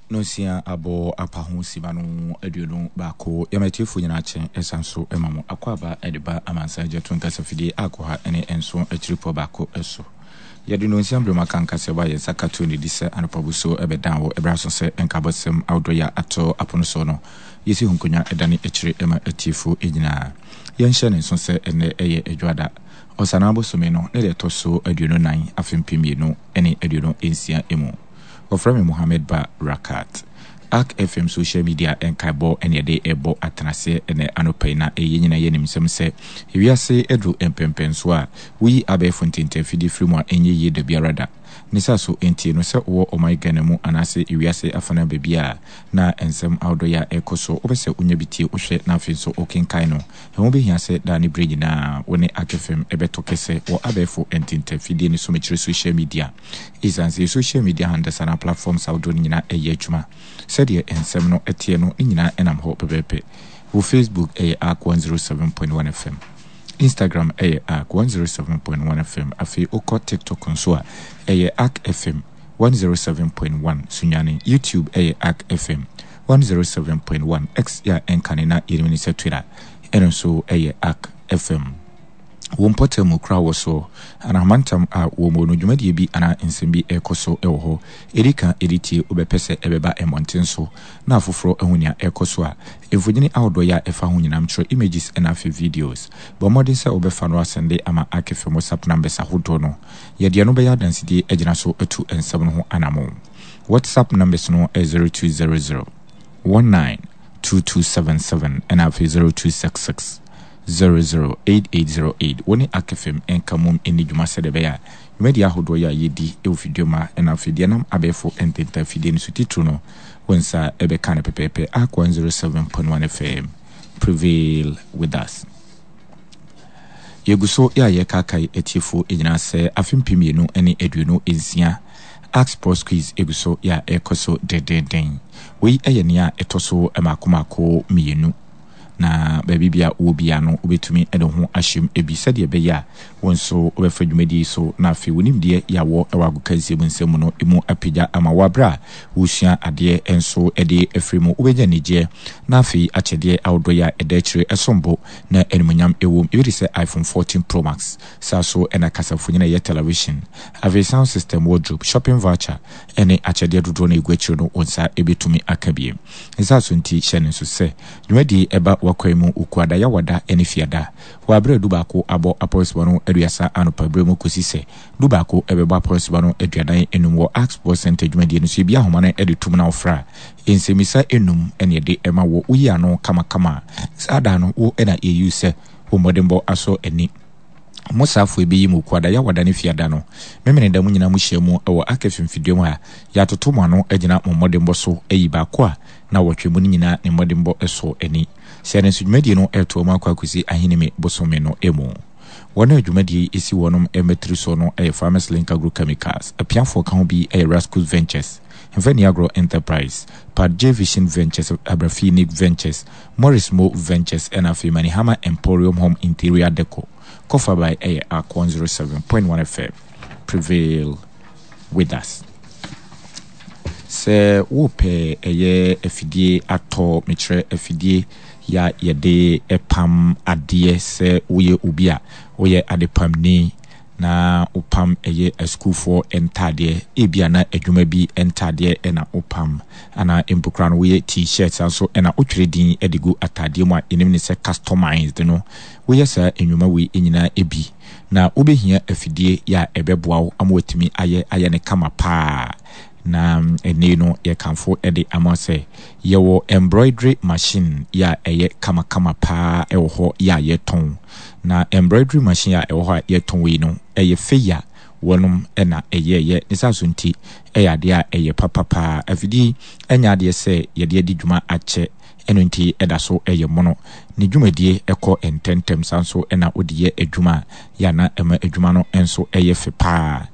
Nonsia abɔ apaho sima no 21. Yɛma atiefoɔ nyinaa kye ɛsan so ma mo akwaaba de ba amansan gya to nkasafidie a kɔha ne nson akyiripɔ baako so. Yɛde nonsia berɛ mu aka nkasɛbɔ a yɛn nsa ka to no di sɛ anɔpa busuo bɛdan wɔ ɛberɛ aso sɛ nkabɔsɛm ahodoɔ yi a atɔ apono soɔ no yɛsi ho nkonnwa dane akyire ma atiefoɔ nyinaa. Yɛnhyɛ no nso sɛ ɛnnɛ yɛ Adwoada, Ɔsanaa bosome no ne deɛ ɛtɔ so 24 afe 2026 mu. Wɔfrɛ me Mohammed Ba Rakat. Ark FM social media nkaebɔ ne yɛde rebɔ atenaseɛ ɛnnɛ anɔpa yi na yɛn nyinaa yɛnim nsɛm sɛ ewiase aduru mpɛnpɛnsoɔ a woyi abɛɛfo ntentafidie firi mu a ɛnyɛ yie dabiara da. Ne saa so nti no sɛ wowɔ ɔman Ghana mu anaase ewiase afanaa baabi a na nsɛm ahodoɔ yi a ɛrekɔ so wopɛ sɛ wonya bi tie wohwɛ na afei nso wokenkan no ɛho bɛhia sɛ daa ne berɛ nyinaa wo ne Ark FM bɛtɔ kɛsɛ wɔ abɛɛfo ntentafidie no so mekyerɛ social media. Esiane sɛ social media handles anaa platforms ahodoɔ no nyinaa ɛyɛ adwuma sɛdeɛ nsɛm no teɛ no, ne nyinaa ɛnam hɔ pɛpɛɛpɛ. Wɔ Facebook ɛyɛ Ark 107.1 FM, Instagram ɛyɛ Ark 107.1 FM, afei wokɔ TikTok nso a ɛyɛ Ark FM 107.1 Sunyani, YouTube ɛyɛ Ark FM 107.1, X yɛ a ɛnkane na yɛnim ne sɛ Twitter ɛno nso ɛyɛ Ark FM. Wo mpɔtam mu koraa wɔ so anaa mantam a wɔ mu no, dwumadie bi anaa nsɛm bi rekɔ so wɔ hɔ. Ɛdi kan ɛdi tie wobɛpɛ sɛ ɛbɛba mmɔnten so na afoforɔ ahu nea ɛrekɔ so a, mfonini ahodoɔ yɛ a ɛfa ho nyinaa mtwerɛ images ɛna afei videos. Bɔ mmɔden sɛ wobɛfa no asɛnde ama Arc-FM WhatsApp numbers ahodoɔ no. Yɛde ɛno bɛyɛ adansedie agyina so atu nsɛm no ho anamon. WhatsApp numbers no yɛ 0200 19 2277 ɛna afei 0266 008808 Wo ne Akefem nka mmom nni dwuma sɛdeɛ ɛbɛyɛ a dwumadie ahodoɔ yi a yɛdi wɔ fidua mu ha na afei deɛ ɛnam abɛɛfo ntentan afidie no so titiriw no, wo nsa bɛka no pɛpɛɛpɛ. Ark 107.1 FM, prevail with us. Yɛgu so yɛ a yɛkaakae atiefoɔ nyinaa sɛ afe 2026 Ark Sports Quiz gu so yɛ a ɛrekɔ so dendeenden. Wei yɛ nea ɛtɔ so mmaako mmaako mmienu. Na baabi biara a wowɔ biara no, wobɛtumi de wo ho ahyɛ mu bi sɛdeɛ ɛbɛyɛ a wo nso wobɛfa dwumadie yi so na afei wo nimdeɛ yɛ a wɔ wɔ agokansie mu nsɛm mu no mu apagya ama wo berɛ a woresua adeɛ nso de afiri mu. Wobɛnya anigyeɛ na afei akyɛdeɛ ahodoɔ yi a ɛda akyire ɛsom bo na animuonyam wɔ mu. Ebi te sɛ iPhone 14 Pro Max, saa so na kasamfonin a ɛyɛ television, afei sound system, wardrobe, shopping voucher ne akyɛdeɛ dodoɔ no a ɛgu akyire no wo nsa bɛtumi aka bi. Ne saa so nti, hyɛ no nso sɛ, dwumadie yi ba w'akwan mu Wukuada, Yawada ne Fiada wɔ aberɛ a dubaako abɔ apɔnsima no 30 anɔpa berɛ mu kɔsi sɛ dubaako bɛbɔ apɔnsima no 45 wɔ Ark Sports Centre dwumadie no so. Yɛbue ahoma no de tom na wofrɛ a, nsɛmmisa nnum na yɛde ma wo. Woyi ano kamakama a, saa da no wo na yɛyi wo sɛ wo mmɔdenbɔ asɔ ani. Mo saafo yi bɛyi mo Kuada, Yawada ne Fiada no. Memeneda mo nyinaa mohyia mu wɔ Ark mfimfiduam ha. Yɛatoto mo ano agyina mo mmɔdenbɔ so ayi baako a na wɔtwe mu no nyinaa ne mmɔdenbɔ sɔ ani. Sɛ no nso dwumadie no retoa mu akɔ akɔsi Ahinime bosome no mu. Wɔn a dwumadie yi si wɔnom mmatiri soɔ no yɛ Farmers Link Agro Chemicals, apiafoɔ ka ho bi yɛ Rascus Ventures, Mfani Agro Enterprise, Pad J Vision Ventures, Abrafi Nick Ventures, Morris Mo Ventures ɛna afei Manihama Emporium Home Interior Decor. Kɔfa by ɛyɛ Ark 107.1 FM. Prevail with us. Sɛ wopɛ ɛyɛ afidie atɔ, mekyerɛ afidie yɛ a yɛde pam adeɛ sɛ woyɛ obi a woyɛ adepamni na wopam ɛyɛ asukuufoɔ ntaadeɛ, ebia na adwuma bi ntaadeɛ na wopam, anaa mpo koraa no woyɛ t-shirt saa nso na wotwerɛ din de gu ataadeɛ mu a yɛnim ne sɛ customized no, woyɛ saa nnwuma wei nyinaa bi na wobɛhia afidie yɛ a ɛbɛboa wo ama watumi ayɛ ayɛ no kama paa. Na ɛnnɛ yi no yɛkamfo de ama sɛ yɛwɔ embroidery machine yɛ a ɛyɛ kamakama paa wɔ hɔ yɛ a yɛtɔn. Na embroidery machine a ɛwɔ hɔ a yɛtɔn wei no ɛyɛ fɛ a wɔnom na ɛyɛɛyɛ. Ne saa so nti ɛyɛ adeɛ a ɛyɛ papa paa. Afidie yi ɛnyɛ adeɛ sɛ yɛde adi dwuma akyɛ ɛno nti ɛda so ɛyɛ mono. Ne dwumadie ɛkɔ ntɛntɛm saa nso na wode yɛ adwuma a yɛ a na ɛma adwuma no nso ɛyɛ fɛ paa.